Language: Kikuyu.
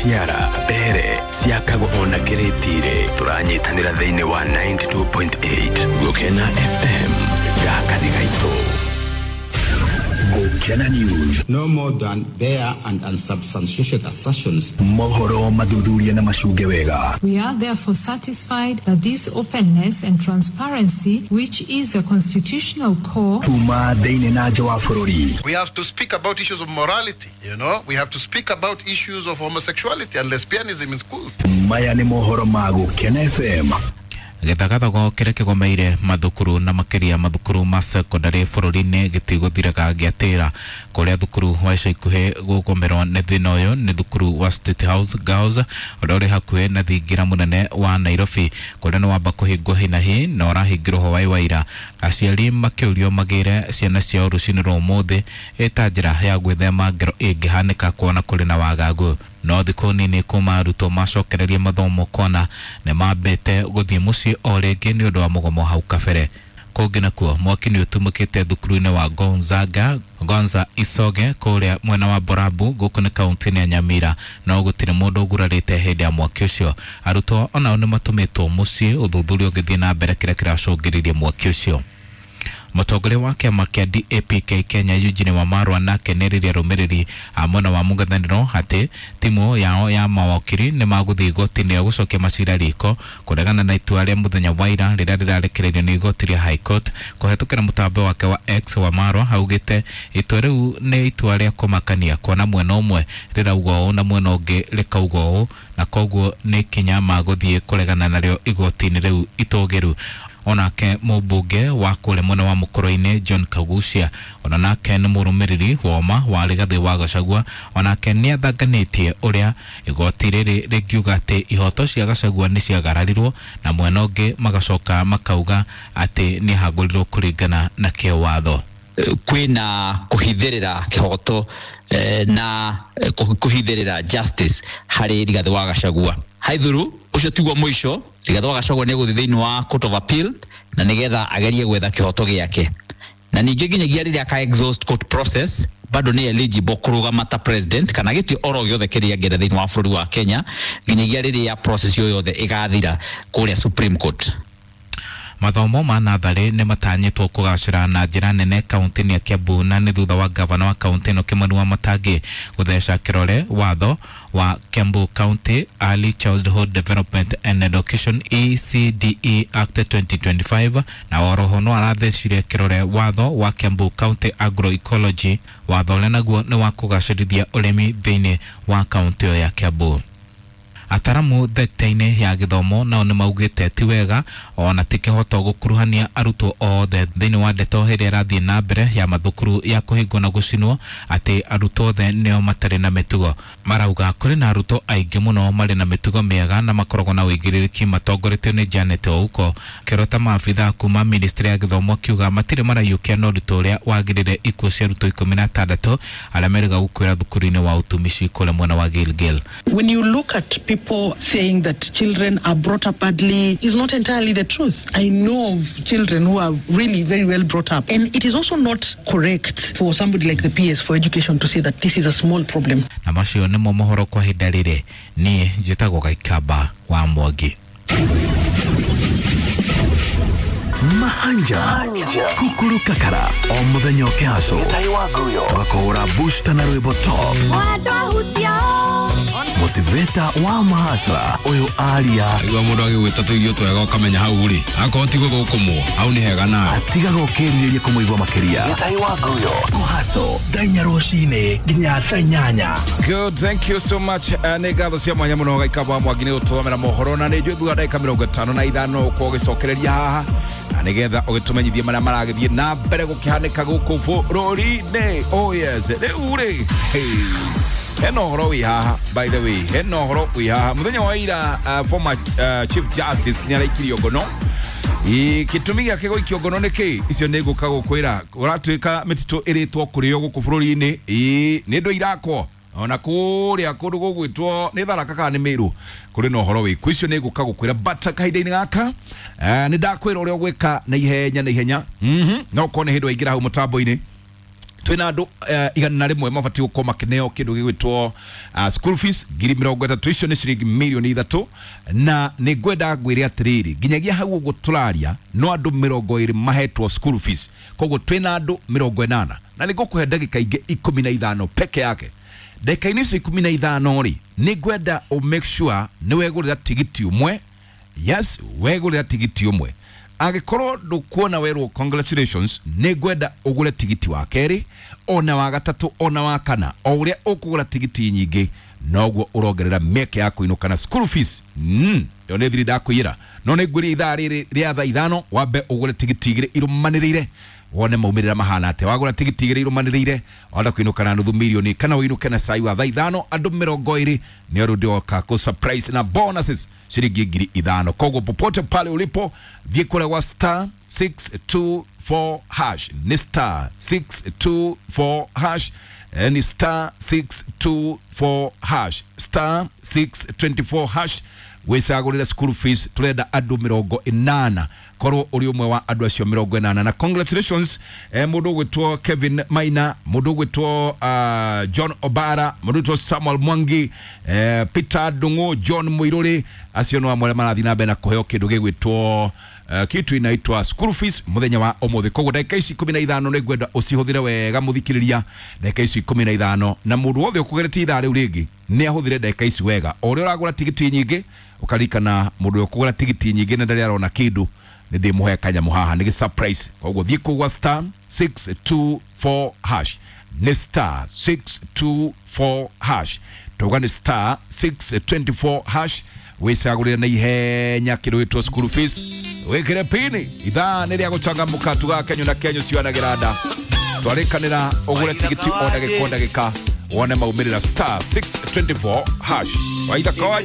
Ciara mbere ciakagwo ona kĩrĩti-rĩ tũranyitanĩra thĩinĩ wa 92.8 Gũkena FM gaka nĩ gaitũ. Gũkena News. No more than bare and unsubstantiated assertions. Mohoro mathuthuria na macunge wega. We are therefore satisfied that this openness and transparency, which is the constitutional core, Kuma thĩinĩ na nja wa bũrũri. We have to speak about issues of morality, you know. We have to speak about issues of homosexuality and lesbianism in schools. Maya nĩ mohoro ma Gũkena FM. Gĩthagathago kĩrĩa kĩgomeire mathukuru na makĩria mathukuru ma sekondary bũrũri-inĩ gĩtigũthiraga gĩatĩra. Kũrĩa thukuru wa ica ikuhĩ gũgomerwo nĩ thĩna ũyũ nĩ thukuru wa State House Girls ũrĩa ũrĩ hakuhĩ na thingira mũnene wa Nairobi, kũrĩa nĩ wamba kũhingwo hinahi na ũrahingirwo hwaĩ wa ira. Aciari makĩũrio magĩre ciana ciao rũcinĩ rwa ũmũthĩ ĩta njĩra ya gwĩthema ngero ĩngĩhanĩka kuona kũrĩ na wagagu. No thikũ nini kuma arutwo macokererie mathomo kona nĩ mambĩte gũthiĩ mũciĩ o rĩngĩ nĩ ũndũ wa mũgomo hau kabere. Kũngĩ nakuo mwaki nĩ ũtumũkĩte thukuru-inĩ wa Gonzaga Gonza Isoge kũrĩa mwena wa Borabu gũkũ nĩ kaunti-inĩ ya Nyamira, no gũtirĩ mũndũ ũgurarĩte hĩndĩ ya mwaki ũcio. Arutwo onao nĩ matũmĩtwo mũciĩ, ũthuthuria ũgĩthiĩ na mbere kĩrĩa kĩracũngĩrĩirie mwaki ũcio. Mũtongoria wa kĩama kĩa DAPK Kenya Eugene Wamalwa nake nĩerĩire arũmĩrĩri a mwena wa mũng'ethanĩro atĩ timu yao ya mawakiri nĩ magũthiĩ igoti-inĩ rĩa gũcokia macira riko kũregana na itua rĩa mũthenya wa ira rĩrĩa rĩrarekereirio nĩ igoti rĩa High Court. Kũhetũkĩra mũtambo wake wa X, Wamalwa augĩte itua rĩu nĩ itua rĩa kũmakania kuona mwena ũmwe rĩrauga ũũ na mwena ũngĩ rĩkauga ũũ, na koguo nĩ ikinya magũthiĩ kũregana narĩo igoti-inĩ rĩu itũgĩru. Onake mũmbunge wa kũrĩa mwena wa Mũkũrũ-inĩ John Kagucia ona nake nĩ mũrũmĩrĩri woma wa Rigathĩ wa Gachagua, onake nĩ athanganĩtie ũrĩa igoti rĩrĩ rĩngiuga atĩ ihoto cia Gachagua nĩ ciagararirwo na mwena ũngĩ magacoka makauga atĩ nĩ ahagũrirwo kũringana na kĩwatho. Kwĩna kũhithĩrĩra kĩhoto na kũhithĩrĩra justice harĩ Rigathĩ wa Gachagua. Haithuru ũcio tiguo mũico, Rigathĩ wa Gachagua nĩ egũthiĩ thĩinĩ wa Court of Appeal na nĩgetha agerie gwetha kĩhoto gĩake, na ningĩ nginyagia rĩrĩa aka exhaust court process bado nĩ eligible kũrũgama ta president kana gĩtĩ oro gĩothe kĩrĩa angĩenda thĩinĩ wa bũrũri wa Kenya nginyagia rĩrĩa process ĩyo yothe ĩgathira kũrĩa Supreme Court. Mathomo ma natharĩ nĩ matanyĩtwo kũgacĩra na njĩra nene kaunti-inĩ ya Kiambu, na nĩ thutha wa gavana wa kaunti ĩno Kimani Wamatangi gũtheca kĩrore watho wa Kiambu County Early Childhood Development and Education ECDE Act 2025, na oroho no arathecire kĩrore watho wa Kiambu County Agroecology, watho ũrĩa naguo nĩ wa kũgacĩrithia ũrĩmi thĩinĩ wa kaunti ĩyo ya Kiambu. Ataramu thekta-inĩ ya gĩthomo nao nĩ maugĩte ti wega ona ti kĩhoto gũkuruhania arutwo othe thĩinĩ wa ndeto ĩrĩa ĩrathiĩ na mbere ya mathukuru ya kũhingwo na gũcinwo atĩ arutwo othe nĩo matarĩ na mĩtugo. Marauga kũrĩ na arutwo aingĩ mũno marĩ na mĩtugo mĩega na makoragwo na ũigĩrĩrĩki matongoretio nĩ Janet Ouko. Kĩrota maabitha kuma ministry ya gĩthomo akiuga matirĩ maraiyũkia na ũritũ ũrĩa wagĩrĩire ikuũ cia arutwo 16 arĩa merĩga gũkuĩra thukuru-inĩ wa ũtumishi kũrĩa mwena wa Gilgil. When you look at people saying that children are brought up badly is not entirely the truth. I know of children who are really very well brought up. And it is also not correct for somebody like the PS for education to say that this is a small problem. Na macio nĩmo mohoro kwa ihinda rĩrĩ. Niĩ njĩtagwo Gaikamba wa Mwangi. Mahanja Kukuru Kakara o mũthenya ũkĩhaco tũgakũhũra booster na rwĩmbo top motivator wa mahasra ũyũ aria igua mũndũ agĩgwĩta tũirio twega ũkamenya hau rĩ akorwo tiguo gũkũmwo hau nĩ hega nawe atigaga ũkĩrirĩria kũmũigua makĩria kũhaco thaa inya rũcinĩ nginya thaa inyanya. Good, thank you so much. Nĩ ngatho cia mwanya mũno Gaikamba wa Mwangi nĩ gũtũthomera mohoro, na nĩ njũĩ thutha wa ndagĩka 55 ũkorwo ũgĩcokereria haha na nĩgetha ũgĩtũmenyithie marĩa maragĩthiĩ na mbere gũkĩhanĩka gũkũ bũrũri-inĩ. Oh yes, rĩu rĩ hena ũhoro wĩ haha, by the way, hena ũhoro wĩ haha. Mũthenya wa ira former Chief Justice nĩ araikirio ngono. Gĩtũmi gĩake gũikio ngono nĩ kĩ? Icio nĩ ngũka gũkwĩra. Ũratuĩka mĩtitũ ĩrĩtwo kũrĩo gũkũ bũrũri-inĩ, nĩ ndũ irakwo ona kũrĩa kũndũ gũgwĩtwo nĩ Tharaka kana nĩ Meru kũrĩ na ũhoro wĩku. Icio nĩ ngũka gũkwĩra, but kahinda-inĩ gaka nĩ ndakwĩra ũrĩa ũgwĩka na ihenya na ihenya. No ũkorwo nĩ hĩndĩ waingĩra hau mũtambo-inĩ Twina andu 101 mabatiĩ gũkorwo makĩneo kĩndũ gĩgwĩtwo school fees 30,000, icio nĩ ciringi 3 mirioni, na nĩ ngwenda ngwĩre atĩrĩrĩ, nginyagia hau ũguo tũraria no andũ 20 mahetwo school fees, koguo twĩna andũ 80, na nĩ ngũkũhe ndagĩka ingĩ 15 peke yake. Ndagĩka-inĩ icio 15 rĩ, nĩ ngwenda ũ make sure nĩ wegũrĩra tigiti ũmwe. Yes, wegũrĩra tigiti ũmwe. Angĩkorwo ndũkuona werwo congratulations, nĩ ngwenda ũgũre tigiti wa kerĩ, ona wa gatatũ, ona wa kana. O ũrĩa ũkũgũra tigiti nyingĩ, noguo ũrongerera mĩeke ya kũinũka na school fees. Ĩyo nĩ thiri ndakwĩra, no nĩ ngwĩria ithaa rĩrĩ rĩa thaa 5 wambe ũgũre tigiti 2 irũmanĩrĩire, wone maumĩrĩra mahana atĩa. Wagũra tigiti 2 irũmanĩrĩire, wahota kũinũka na 500,000 kana ũinũke na cai wa thaa 5. Andũ 20 nĩ ũndũ ndĩoka kũ surprise na bonuses ciringi 5,000. Koguo popote pale ulipo, thiĩ kũrĩa gwa *624#, nĩ *624#, ni *624#, *624#, wĩcagũrĩre school fees. Tũrenda andũ 80, korwo ũrĩ ũmwe wa andũ acio 80. Na congratulations, mũndũ ũgwĩtwo Kevin Maina, mũndũ ũgwĩtwo John Obara, mũndũ ũgwĩtwo Samuel Mwangi, Peter Ndung'u, John Mũirũrĩ, acio no amwe arĩa marathiĩ na mbere na kũheo kĩndũ gĩgwĩtwo kitu inaitwa school fees muthenya wa umuthi. Koguo ndagĩka ici 15 nĩ ngwenda ũcihũthĩre wega, mũthikĩrĩria, ndagĩka ici 15, na mũndũ wothe ũkũgeretie ithaa rĩu rĩngĩ nĩ ahũthĩre ndagĩka ici wega. O ũrĩa ũragũra tigiti nyingĩ, ũkaririkana mũndũ ũrĩa ũkũgũra tigiti nyingĩ na ndarĩ arona kĩndũ, nĩ ndĩmũhe kanyamũ haha nĩ gĩ surprise. Koguo thiĩ kũgwa *624#, nĩ *624#, tauga nĩ *624#, wĩcagũrĩre na ihenya kĩndũ gĩtwo school fees, wĩkĩre pini. Ithaa nĩ rĩa gũcangamũka, tugaga kenyo na kenyo cianagĩra nda. Twarĩkanĩra ũgũre tigiti o ndagĩka o ndagĩka, wone maumĩrĩra, *624#. Waitha kawaje.